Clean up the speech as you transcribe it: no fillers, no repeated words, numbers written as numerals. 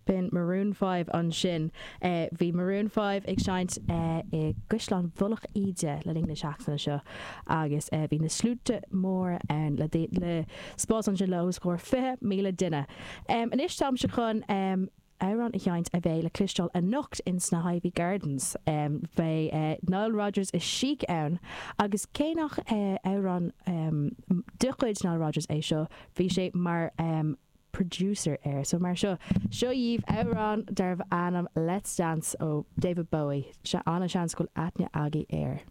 B'in Maroon 5 ansin. Bhí Maroon 5 ag seinnt i gCaisleán Mhullach Íde le linn na seachtaine seo agus bhí na sluaite móra ann le le spás ansin le os comhair 20,000 duine. Anois táimse chun amhrán a sheinnt a bheidh le cloisteáil anocht in sna hIvy Gardens. Beidh Nile Rodgers is Chic ann agus cé nach amhrán de chuid Nile Rodgers é seo, bhí sé mar producer air. So mar seo, seo dhaoibh amhrán darbh ainm Let's Dance ó David Bowie. Ana-sheans go bhfuil aithne agaibh air.